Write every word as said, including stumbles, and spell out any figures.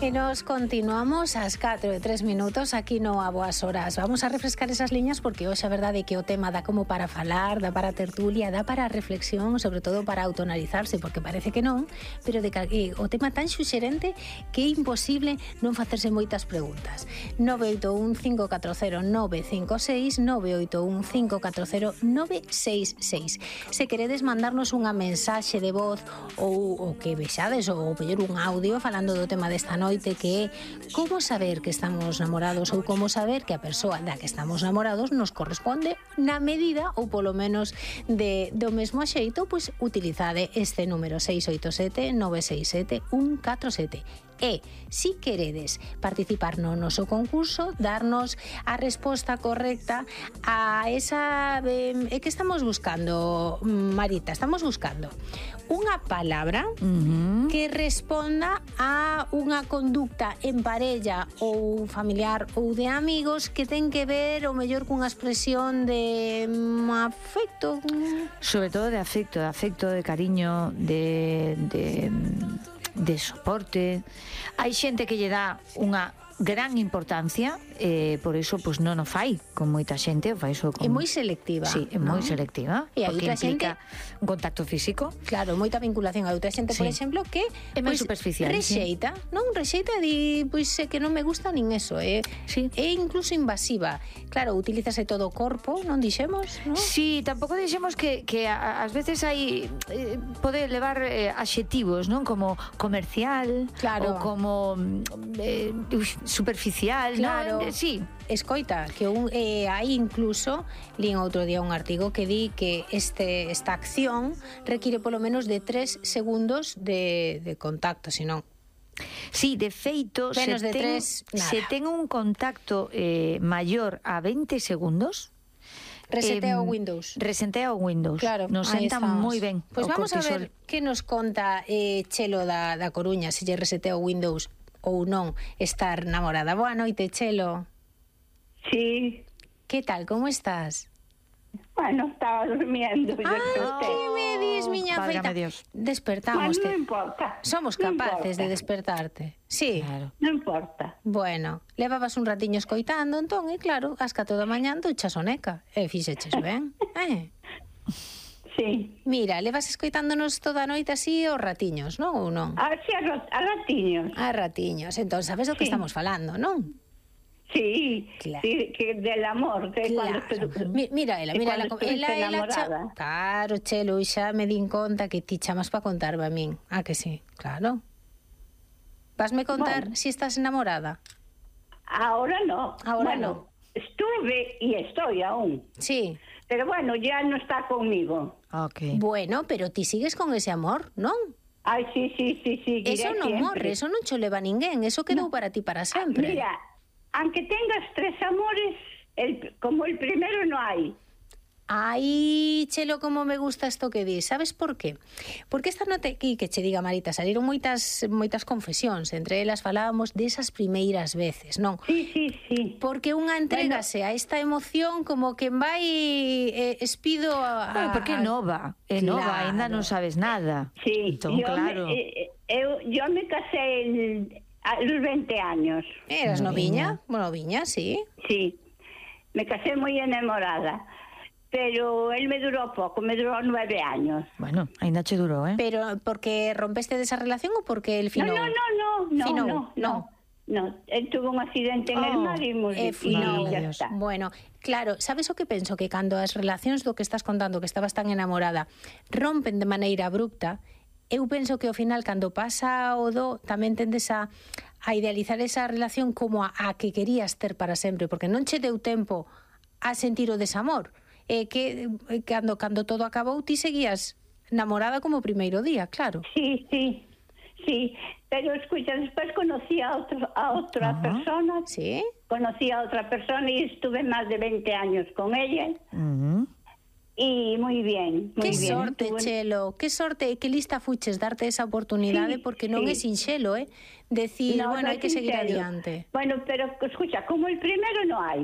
E nos continuamos ás catro e tres minutos aquí no A Boas Horas. Vamos a refrescar esas liñas porque hoxe a verdade é que o tema dá como para falar, dá para tertulia, dá para reflexión, sobre todo para autoanalizarse, porque parece que non, pero de que o tema tan xuxerente que é imposible non facerse moitas preguntas. nove oito un cinco catro cero nove cinco seis, nove oito un cinco catro cero nove seis seis. Se queredes mandarnos unha mensaxe de voz ou o que vexades ou pedir un audio falando do tema desta noite, que é como saber que estamos namorados ou como saber que a persoa da que estamos namorados nos corresponde na medida ou polo menos de, do mesmo xeito, pois utilizade este número seis oito sete nove seis sete un catro sete. E, si queredes participar no noso concurso, darnos a resposta correcta a esa... Eh, é que estamos buscando, Marita, estamos buscando unha palabra uh-huh. que responda a unha conducta en parella ou familiar ou de amigos que ten que ver, ou mellor, cunha expresión de um, afecto. Sobre todo de afecto, de afecto, de cariño, de... de... de soporte. Hai xente que lle dá unha gran importancia, eh, por iso pues, non o fai con moita xente, o fai iso con... É moi selectiva. Sí, é moi selectiva, e porque implica xente... un contacto físico. Claro, moita vinculación. A outra xente, sí. por exemplo, que é máis pues, superficial. Rexeita, sí. non? Rexeita di, pois pues, que non me gusta nin eso, é, sí. é incluso invasiva. Claro, utilízase todo o corpo, non dixemos, non? Sí, tampouco dixemos que, que ás veces hai eh, pode levar eh, adxetivos, non? Como comercial, claro. ou como eh, superficial, claro. non? Sí. Escoita, que un, eh, hai incluso, lín outro día un artigo que di que este, esta acción require polo menos de tres segundos de, de contacto, senón. Sí, de feito, menos se, de ten, tres, se ten un contacto eh, maior a veinte segundos, resetea o eh, Windows. Resetea o Windows. Claro, nos senta moi ben. Pois pues vamos cortisol. A ver que nos conta eh, Chelo da, da Coruña, se lle resetea o Windows ou non estar namorada. Boa noite, Chelo. Sí. Que tal, como estás? Bueno, estaba durmiendo. Ai, que me dis, miña feita? Despertamos. Bueno, non importa. Somos capaces no importa. De despertarte. Sí. Claro. Non importa. Bueno, levabas un ratiño escoitando, entón, e claro, ás catro da mañán ducha soneca. E fixeches ben, eh? Sí. Mira, levas escoitándonos toda a noite así os ratiños, non? Ou non? Ah, sí, a ratiños. A ratiños. Entón, sabes do que sí. estamos falando, non? Sí, claro. Sí, que del amor, que claro. cuando te, Mi, mira, ela, mira, ela, ela, ela cha... Claro, Chelo, xa me din conta que ti chamas para contarme a min. Ah, que sí, claro. Vasme contar bueno. Si estás enamorada? Ahora no. Ahora bueno, no. Estuve y estoy aún. Sí. Pero bueno, ya no está conmigo. Okay. Bueno, pero ti sigues con ese amor, non? Ay, sí, sí, sí, sí. Eso non siempre. morre, eso non cho leva ninguén, eso quedou no. Para ti para sempre. Mira, aunque tengas tres amores, el, como el primero no hay. Ai, Chelo, como me gusta isto que dis. Sabes por qué? Porque esta noite aquí, que che diga Marita, salieron moitas moitas confesións, entre elas falábamos desas primeiras veces, non? Sí, sí, sí. Porque unha entregase bueno. A esta emoción como que vai eh, espido a... Bueno, porque é nova, é claro. Nova, ainda non sabes nada. Sí, entón, yo, claro. me, eh, eu, yo me casé el, a los veinte años. Eras noviña? Bueno, noviña, sí. Sí, me casé moi enamorada. Pero él me duró poco, me duró nueve años. Bueno, ainda che duró, ¿eh? Pero porque rompeste de esa relación o porque el finou? No, no, no, no, finou, no, no, no. No, él tuvo un accidente en oh, el mar y, eh, y ya está. Bueno, claro, sabes o que penso? Que cando as relacións do que estás contando, que estabas tan enamorada, rompen de maneira abrupta, eu penso que ao final, cando pasa o do, tamén tendes a, a idealizar esa relación como a, a que querías ter para sempre, porque non che deu tempo a sentir o desamor. Eh, que eh, cando, cando todo acabou ti seguías namorada como o primeiro día, claro. Sí, sí, sí, pero escucha, despois conocí a, otro, a outra uh-huh. persona. Sí. Conocí a outra persona e estuve máis de veinte años con ella. Uh-huh. E moi bien, moi bien. Que sorte, Tuve... Chelo, que sorte, que lista fuches darte esa oportunidade, sí, porque non sí. É sinxelo, eh? Decir, no, bueno, no hai que seguir sincero. Adiante. Bueno, pero escucha, como el primero no hai.